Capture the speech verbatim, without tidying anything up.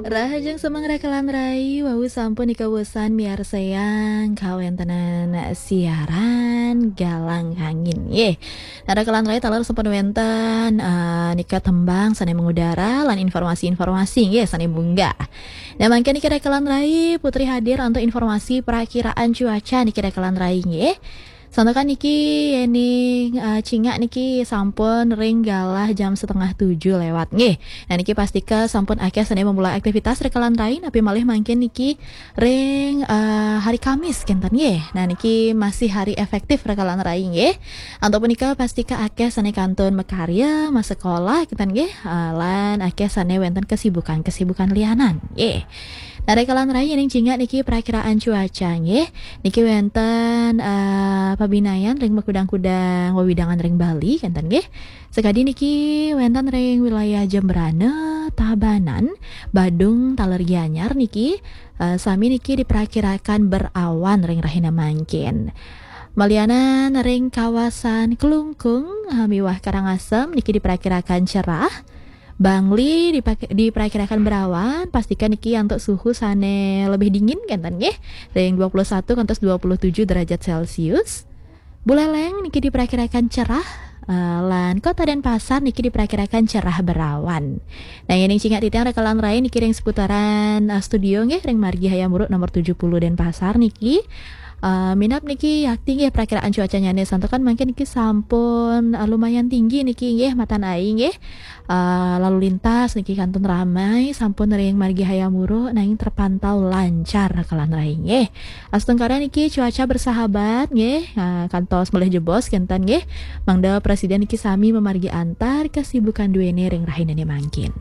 Rahajeng semeng rekelan rai, wau sampun nika wesan miarsayang kawéntenan siaran Galang Angin. Nggih. Nah, rekelan rai taler sampun wénten, eh, nika tembang sané mengudara lan informasi-informasi nggih sané munggah. Nah, mangkin niki rekelan rai Putri hadir untuk informasi perakiraan cuaca niki rekelan rai nggih. Santukan niki yéning, eh, cingak niki sampun ring galah jam setengah tujuh lewat nggih. Nah, niki pastika sampun akéh sané memulai aktivitas rekelan rai, napi malih mangkin niki ring, eh, hari Kamis kénten nggih. Nah, niki masih hari efektif rekelan rai nggih. Antuk punika pastika akéh sané kantun makarya, masekolah kénten nggih, eh, lan akéh sané wénten kesibukan-kesibukan lianan nggih. Nah, rekelan rai yéning cingak niki perakiraan cuaca nggih. Niki wénten, eh, pabinayan ring makudang-kudang wewidangan ring Bali kénten nggih. Sakadi niki wénten ring wilayah Jembrana, Tabanan, Badung, taler Gianyar niki, eh, sami niki diperakirakan berawan ring rahina mangkin. Malianan ring kawasan Klungkung, eh, miwah Karangasem niki diperakirakan cerah. Bangli dipak-, diperakirakan berawan, pastikan niki antuk suhu sané lebih dingin kénten nggih, ring dua puluh satu ngantos dua puluh tujuh derajat Celcius. Buleleng niki diperakirakan cerah, eh, lan Kota Denpasar niki diperakirakan cerah berawan. Nah, yéning cingak titiang rekelan rai niki ring seputaran, eh, studio nggih, ring Margi Hayam Wuruk nomor tujuh puluh Denpasar niki. Eh, minab niki yakti nggih perakiraan cuacanya nih, santukan mangkin niki sampun, eh, lumayan tinggi niki nggih matan ai nggih. Eh, lalu lintas niki kantun ramai, sampun ring Margi Hayam Wuruk nanging terpantau lancar rekelan rai nggih. Astungkara niki cuaca bersahabat nggih, eh, kantos malih jebos kénten nggih. Mangda Presiden niki sami mamargi antar kesibukan duéné ring rahinané mangkin.